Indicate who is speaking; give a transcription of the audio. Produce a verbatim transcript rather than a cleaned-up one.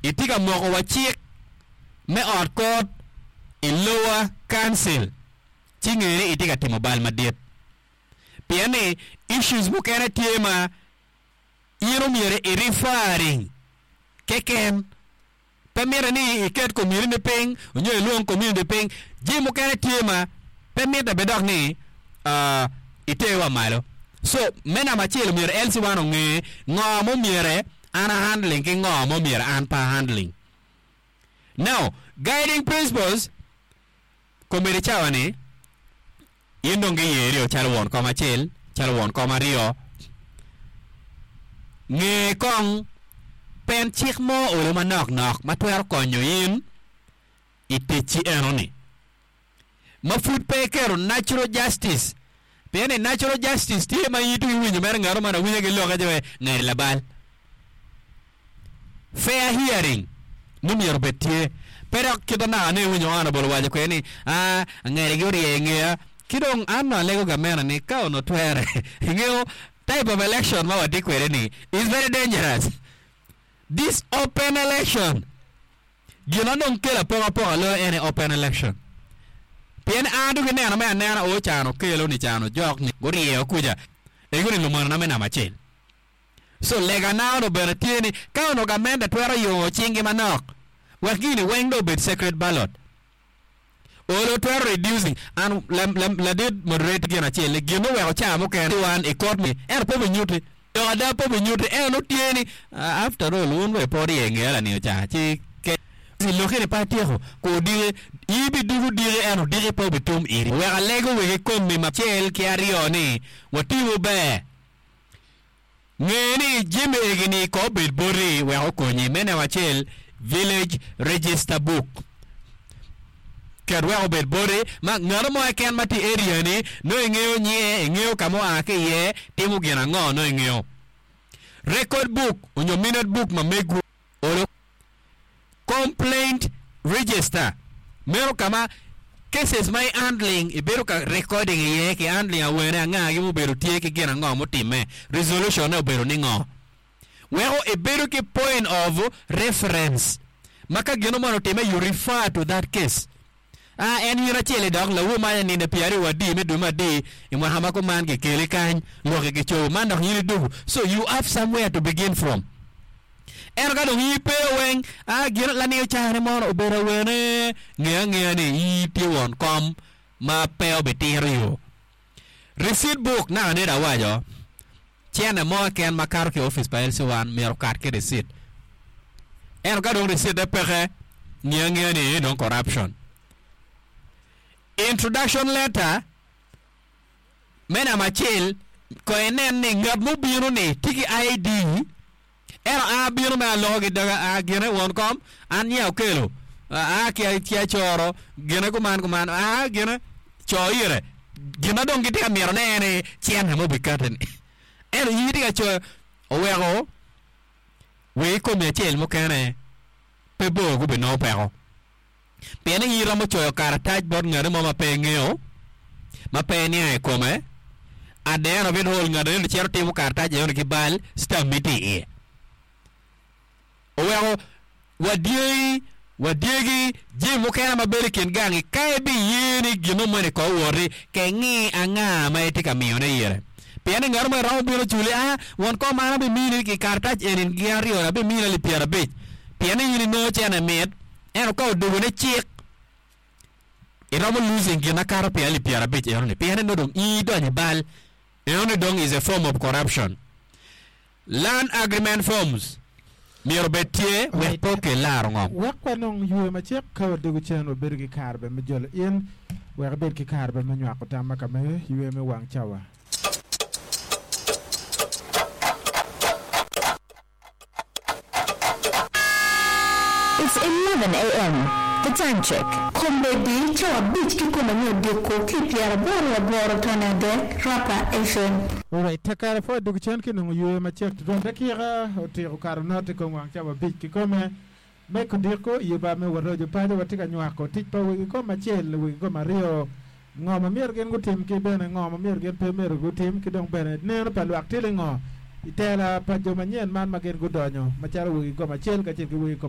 Speaker 1: Itye ka moko wa cik me ot kot i lower council ci nge ni itye ka timo bal madit. Pien ni issues mukene tye ma in omyero i referring keken. Pe mitte ni iket community piny nyo ilwong community piny. Jami mukene tye ma pe mitte bene dok ni uh, iter wa malo. So me namba acel omyero L C one onge ngo ma omyere an a handling ki ngo ma omyero an pe a handling. Now, guiding principles komedi cawa ni in dong giyeri o calo won kom acel, calo won kom aryo. Nge kong pen cik mo olo manok nok ma twero konyo in i ticci enoni. Ma pud pe iketo natural justice. Pien ni natural justice tye ma in itye winyo mere ngato man awinya ki loke ce ngeri labal. Fair hearing ni myero obed tye. Pe dok kit ma naka ne iwinyo honorable owaco kwede ni aa angeri gi orye ingeya. Ki dong an nongo alego gamene ni ka onongo twere ingeyo type of election ma watye kwede ni is very dangerous. This open election gin ma dong kelo apokapoka loyo en aye open election. Pien an dong ineno me anena o can okelo ni can ojok ni guryeyo kuca ego ni lumonona me namba acel. So legana onongo bene tye ni ka onongo gamente twero yongo cinggi manok wek gini weng dong obed secret ballot. Olo twero reducing and ladit moderator gin acel ni gin oweko ca mukene wan i court ni ento pe obinyuti. Lok ada pe obinyuti ento nongo tye ni after all wun bene pe wurye ngeya laniyo ca ci loki ni pe atyeko ko odiki in ibidugo diki ento odiki pe obitum iri. Wek alego wegi komi acel ki aryo ni watimu ber. Nge ni jami egi-ni ko obed boti wek okonyi. Me neno acel, Village Register Book. Ket wek obed boti ma ngat mo keken ma tye i area-ni nongo ingeyo nyinge, ingeyo ka ma oa ki iye, timo gin ango nongo ingeyo. Record book onyo minute book ma megwu olo. Complaint register meno ka ma cases ma i handling ibedo ka recording iye ki handling awene angagi mubedo tye ki gin ango mutimme resolution ne obedo ni ngo weko ibedo ki point of reference ma ka gino moni otimme you refer to that case a en in acel i dok lawu ma nino pyera aryo adi me dwe me adi i mwaka ma kuman kikeli kany lwoki kicobo man dok in idugu so you have somewhere to begin from. Ento ka dong in ipe weng, a gin laniyo cane mono obedo awene, nge angeya ni in itye won kom ma pe obitiro yo. Receipt book naka nene awaco, cene mo keken ma kato ki i opic pa L C one myero okat ki receipt. Ento ka dong receipt-te peke, nge angeya ni eni dong corruption. Introduction letter me namba acel, kong inen ni ngat mubino-ni tye ki I D, ento an abino me aloko ki doga, a gine won kom, an nyinga Okello, aa ki ki Acoro, gine kuman kuman, aa gine co ire, gin ma dong gitye ka mito ne en aye cente ma obikati-ni. Ento in itye ka coyo oweko wek i komi acel mukene pe bor gubinongo peko. Pien in iromo coyo karatac bot ngati mo ma pe ingeyo, ma pe iniang i kome, at the end of it all ngat eno cito timo karatac eno ki bal, stamp-mi tye iye. Oweko wadyengi, wadyegi jami mukene ma bedo i kin gangi ka ibiye ni gin mo moni ko owoti, kengi anga ma itye ka miyone ire. Pien ni ngat mo romo bino culi, a won kom an abimini ki karatac eni gin aryo ni abimini alip pyerabic, pien ni in inongo cene mit. Ento ka odwogo ne cik, iromo losing gin makato pi alip pyerabic enoni pien ni nongo dong in idonyo i bal. Enoni dong is a form of corruption. Land agreement forms myero obed tye wek pe okel laro ngom.
Speaker 2: Wek wanong yweyo macek ka wadwogo cen, wabedo ki kare bene me jolo in wek ibed ki kare bene me nywako tam ma ka me yweyo me wang cawa.
Speaker 3: It's eleven A M The time check.
Speaker 4: Kombeddi cawa abic kikome me odiko ki pyeraboro aboro tone adek, Rapa F M.
Speaker 2: Alright, kare pud adwogo cen ki nongo yweyo macek tutwal. Dakika otyeko kato not i kom wang cawa abic kikome me kodiko. I yuba me Waroco Paco watye ka nywako tic pa wegi kom acel, wegi kom aryo. Ngo ma myero gin gutim ki bene ngo ma myero gin pe myero gutim, ki dong bene neno pa lwak tye ningo i tela pa jo manyen man ma gin gudonyo macalo wegi kom acel kacel ki wegi kom